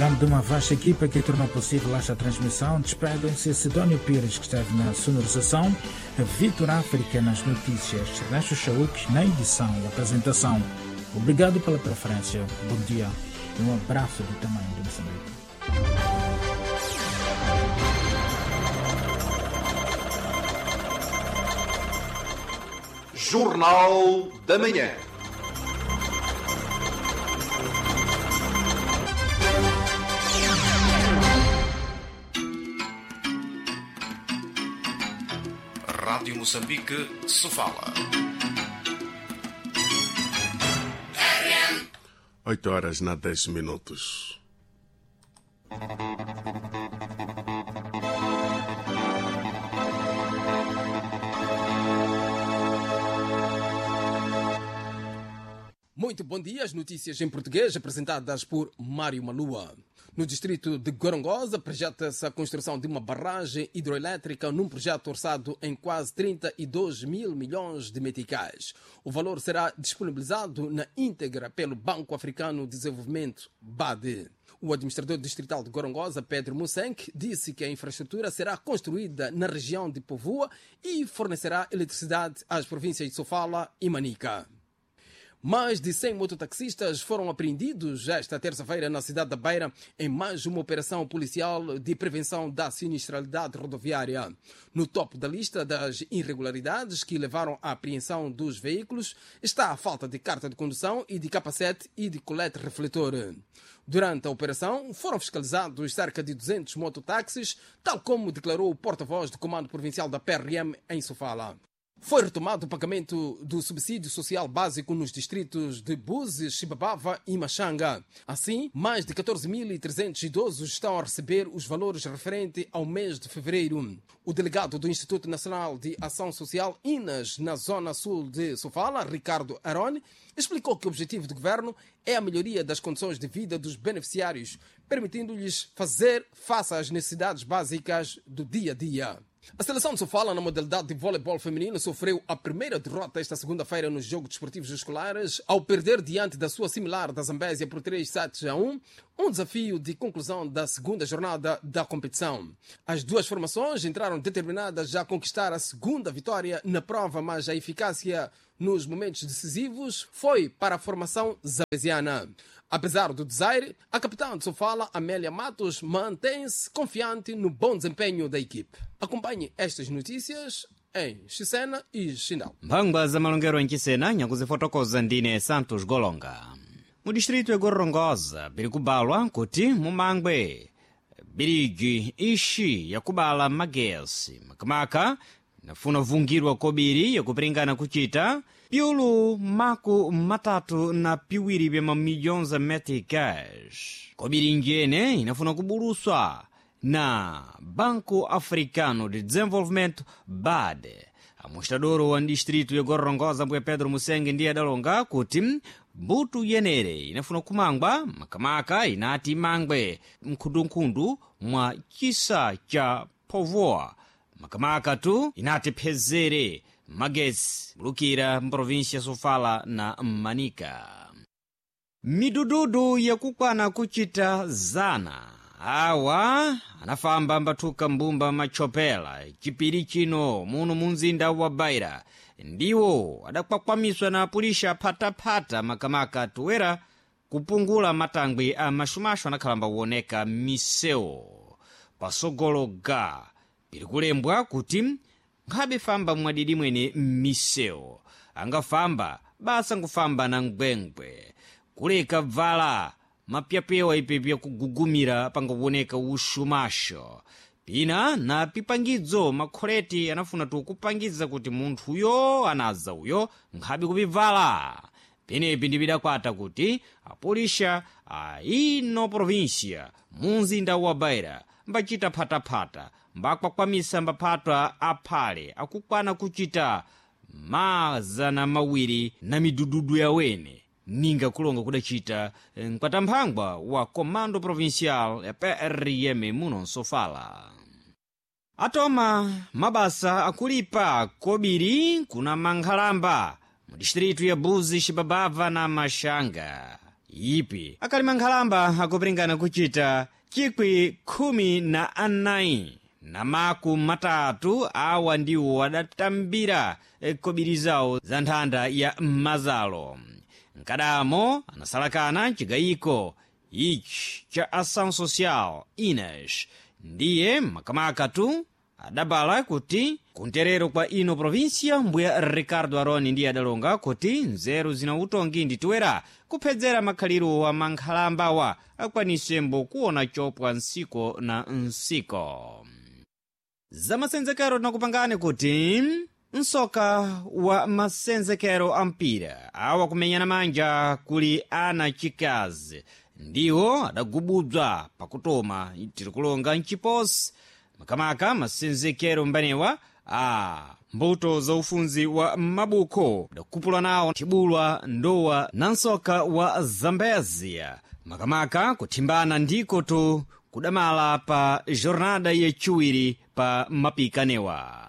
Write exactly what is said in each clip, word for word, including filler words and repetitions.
Em nome de uma vasta equipa que tornou possível esta transmissão, despedem-se Sidónio Pires, que esteve na sonorização, Vitor África nas notícias, Ernesto Chauk na edição e apresentação. Obrigado pela preferência, bom dia e um abraço do tamanho de Moçambique. Jornal da Manhã. Rádio Moçambique, Sofala. Oito horas na dez minutos. Muito bom dia, as notícias em português apresentadas por Mário Malua. No distrito de Gorongosa, projeta-se a construção de uma barragem hidroelétrica num projeto orçado em quase trinta e dois mil milhões de meticais. O valor será disponibilizado na íntegra pelo Banco Africano de Desenvolvimento, B A D. O administrador distrital de Gorongosa, Pedro Mussenk, disse que a infraestrutura será construída na região de Povua e fornecerá eletricidade às províncias de Sofala e Manica. Mais de cem mototaxistas foram apreendidos esta terça-feira na cidade da Beira em mais uma operação policial de prevenção da sinistralidade rodoviária. No topo da lista das irregularidades que levaram à apreensão dos veículos está a falta de carta de condução e de capacete e de colete refletor. Durante a operação foram fiscalizados cerca de duzentos mototáxis, tal como declarou o porta-voz do Comando Provincial da P R M em Sofala. Foi retomado o pagamento do subsídio social básico nos distritos de Búzi, Chibabava e Machanga. Assim, mais de catorze mil e trezentos idosos estão a receber os valores referentes ao mês de fevereiro. O delegado do Instituto Nacional de Ação Social, I N A S, na zona sul de Sofala, Ricardo Arone, explicou que o objetivo do governo é a melhoria das condições de vida dos beneficiários, permitindo-lhes fazer face às necessidades básicas do dia a dia. A seleção de Sofala na modalidade de voleibol feminino sofreu a primeira derrota esta segunda-feira nos Jogos Desportivos Escolares ao perder diante da sua similar da Zambésia por três sets a um, um desafio de conclusão da segunda jornada da competição. As duas formações entraram determinadas a conquistar a segunda vitória na prova, mas a eficácia nos momentos decisivos foi para a formação zambesiana. Apesar do desaire, a capitã de Sofala, Amélia Matos, mantém-se confiante no bom desempenho da equipe. Acompanhe estas notícias em Chisena e Chindal. Mphangwa za malongero em Chisena nyakuzifotokoza ndine Santos Golonga. Mu distrito ya Gorongosa biri kubalwa kuti mumangwe biriji ixi yakubala magesi makamaka nafuna vungirwa kobiri yakupiringana kuchita piulu maku matatu na piwiri bya mamilhões za meticais. Kobiri njene inafuna kubuluswa na Banco Africano de Desenvolvimento, B A D. Amostrador wa distrito ya Gorongosa mbuya Pedro Musenge ndiye adalonga kuti mbuto yenere inafuna kumangwa makamaka inati imangwe mkhundunkhundu mwa chisa cha Povoa makamaka tu inati phezere magesi bulukira mprovinsia ya Sofala na Manica. Midududu yakukwana kuchita zana awa anafamba mbathuka mbumba machopela chipiri chino muno munzinda wa Beira ndiwo adakwakwamiswa na apulisha phatapata makamaka tuwera kupungula matangwi a maxumaxu anakhalamba kuoneka misewu pasogolo ga piri kulembwa kuti nkhabe famba mwadidi mwene m'misewu angafamba basa nkufamba na ngwengwe kuleka bvala mapyapewa ipepi yakugugumira pangakuoneka uxumaxo pina na pipangidzo makholeti anafuna tukupangiza kuti munthuyo anaza uyo nkhabe kupibvala penepi ndipidakwata kuti apulisha a ino província munzinda wa Beira mbachita phataphata mbakwakwamisa mbaphatwa aphale akukwana kuchita mazana mawiri na midududu yawene ninga kulonga kudacita mkwatamphangwa wa Comando Provincial ya P R M muno Sofala. Atoma mabasa akulipa kobiri kuna mankhalamba mu distritu ya Buzi, Xibabava na Maxanga. Ipi akalima nkhalamba akupiringana kuchita chikwi khumi na anayi na maku matatu. Awa ndiwo adatambira kobiri zawo za nthanda ya mazalo. Nkadamo anasalakana chigayiko ichi cha Ação Social Ines, ndiye makamaka tu adabala kuti kunterero kwa ino provinsia mbuya Ricardo Aroni ndiye adalonga kuti nzeru zina utongi nditiwera kuphedzera makhaliro wa mankhalambawa akwanisembo kuona chopwa nsiko na nsiko. Zamasenzekero tinakupangani kuti msoka wa masenzekero a mpira awa kumenyana manja kuli ana chikazi ndiwo adagubudzwa pakutoma tiri kulonga mchiposi, makamaka masenzekero mbanewa a mbuto za ufunzi wa mabuko adakupula nawo thibulwa ndowa na msoka wa Zambezia, makamaka kuthimbana ndiko tu kudamala pa jornada yachiwiri pa mapikanewa.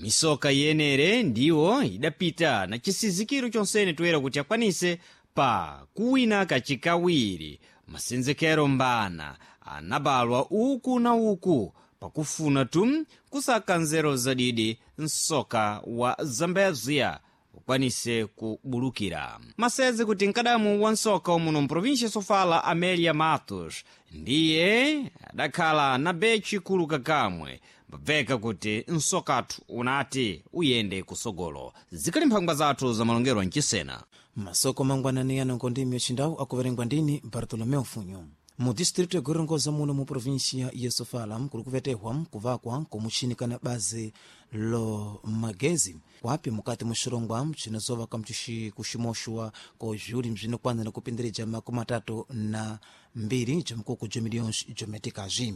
Misoka yenere ndiwo idapita na chisizikiro chonsene toyera kuti akwanise pa kuwina kachikawiri. Masenzekero mbana anabalwa uku na uku pakufuna tu kusaka nzeru zadidi msoka wa Zambezia ukwanise kubulukira. Maseze kuti mkadamu wa msoka umuno mprovinsia Sofala Amelia Matos ndiye adakhala na bechi kuluka kamwe mbabveka kuti msokathu unati uyende kusogolo. Zikali mphangwa zathu za malongero mchisena. Masoko mangwanani yanongo ndimi yacindau akuverengwa ndini Bartolomeu Funyu. Mu distritu ya Gorongosa muno mu provinsia ya Sofala kuli kuvetehwa kuvakwa kumuchini kana bazi lo magezi kwapi mukati muxirongwa cinozova kamcishi kuximoxwa ko zviuli bzinokwana na kupindirija makumi atatu na mbiri jomkuku jo milhões jometikazi.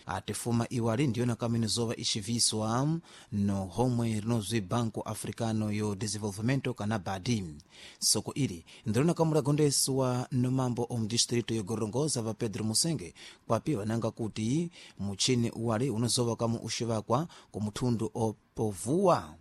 Atifuma iwali ndiyona kaminizova ixiviswa no homwe rinozwi Banco Africano yo Desenvolvimento kana BADI. Soko ili ndirona kamulagondeswa no mambo omu distrito yo Gorongosa va Pedro Musenge, kwapi vananga kuti muchini uwali unozova kamu uxivakwa kumuthundu opovuwa,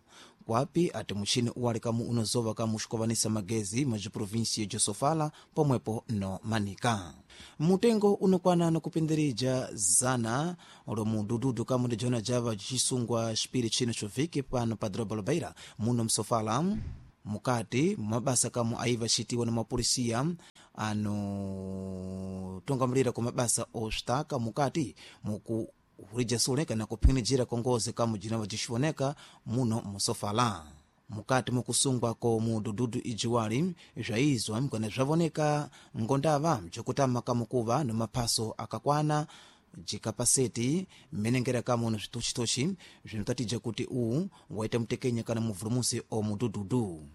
kwapi ati muchini uwali kamu unozova kamu uxikovanisa magezi majiprovinsia de Sofala pomwepo no Manika. Mutengo unokwana nokupindirija zana lomudududu kamu ndi jona java cisungwa xipiri chino choviki pano pa doroba Lobeira muno msofala mukati mabasa kamu aiva xitiwa na mapolisiya anotungamulira ku mabasa ositaka mukati muku hulija sule kana kuphinijira kongozi kamu jinava jixioneka muno musofala. Mukati mukusungwa ko mudududu ijiwali zvaizwa kana zvavoneka ngondava bzokutama kamukuva no maphaso akakwana jikapaseti mmenengera kamu no zvitochitochi zvinotatija kuti uwu waita mutekenya kana muvulumusi o mudududu.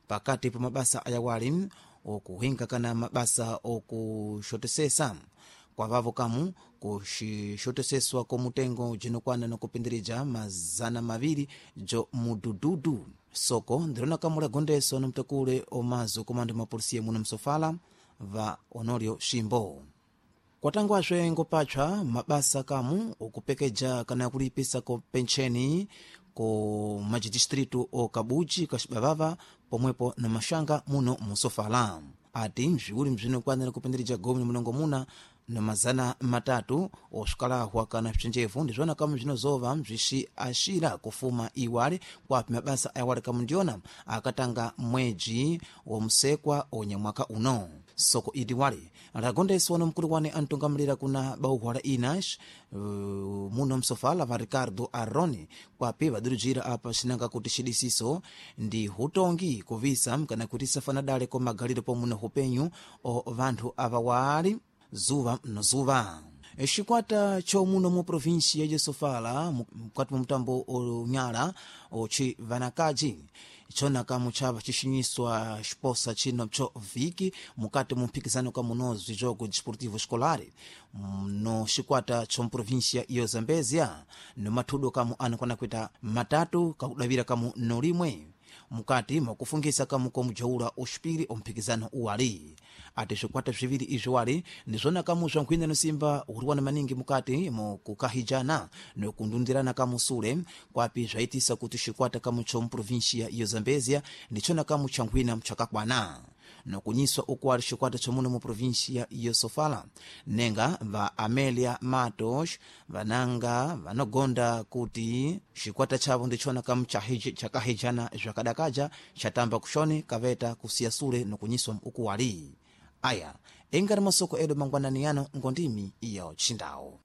Pakati pa mabasa ayawali okuhinga kana mabasa okuxotesesa kwavavo kamu kuxixoteseswa komutengo jinokwana nokupindirija mazana maviri jo mudududu. Soko ndirona kamula gondeso na mtakule omazo komando mapolisiya muno msofala va Honorio Shimbo. Kwatangwazve ngopatshwa mabasa kamu okupekeja kana kulipisa ko pencheni ko majidistritu o Kabuji Kaxibavava pomwepo na Maxanga muno musofala. Ati mzviuli mzvinokwanira kupindirija gumi na mulongomuna na mazana matatu oswikalahwa kana bzinjevu ndizvona kamu bzinozova bzixi axira kufuma iwali kwapi mabasa ayawali kamu ndiyona akatanga mweji wa musekwa onyamwaka uno. Soko ili wali lagondeswa na mkulu wane antungamulira kuna bauhwa la Inash uh, muno msofala va Ricardo Aroni, kwapi vadurujira apa xinanga kuti xidisiso ndi hutongi kuvisa kana kuti safana dale ko magaliro pomuno hupenyu o vanthu ava wali zuva no zuva. Xikwata chomuno mu provinsia ya Sofala mukati mwa mutambo onyala oci vanakaji chona kamu chava cixinyiswa xiposa chino cho viki mukati mu mphikizano kamunozwi jogo desportivo escolar no xikwata chomuprovinsia iyo Zambezia no mathudo kamu anakwana kuita matatu kakudavira kamu nolimwe mukati mwakufungisa kamu komujaula oxipiri omphikizano uwali. Ati swikwata swiwiri izvi wali ndizvona kamu swa nkhwina nosimba uriwana maningi mukati mukukahijana nokundundirana kamu sule kwapi zvaitisa kuti xikwata kamu chomuprovinsia iyo Zambezia ndichona kamu cha nkhwina mchakakwana. Nokunyiswa ukuwali xikwata cha muno mu província ya Sofala, nenga va Amélia Matos vananga vanogonda kuti xikwata chavo ndichona kamu chakahejana zvakadakaja chatamba kuxoni kaveta kusiya sule nokunyiswa ukuwali. Aya engari masoko edu mangwanani yano ngondimi iyo txindawo.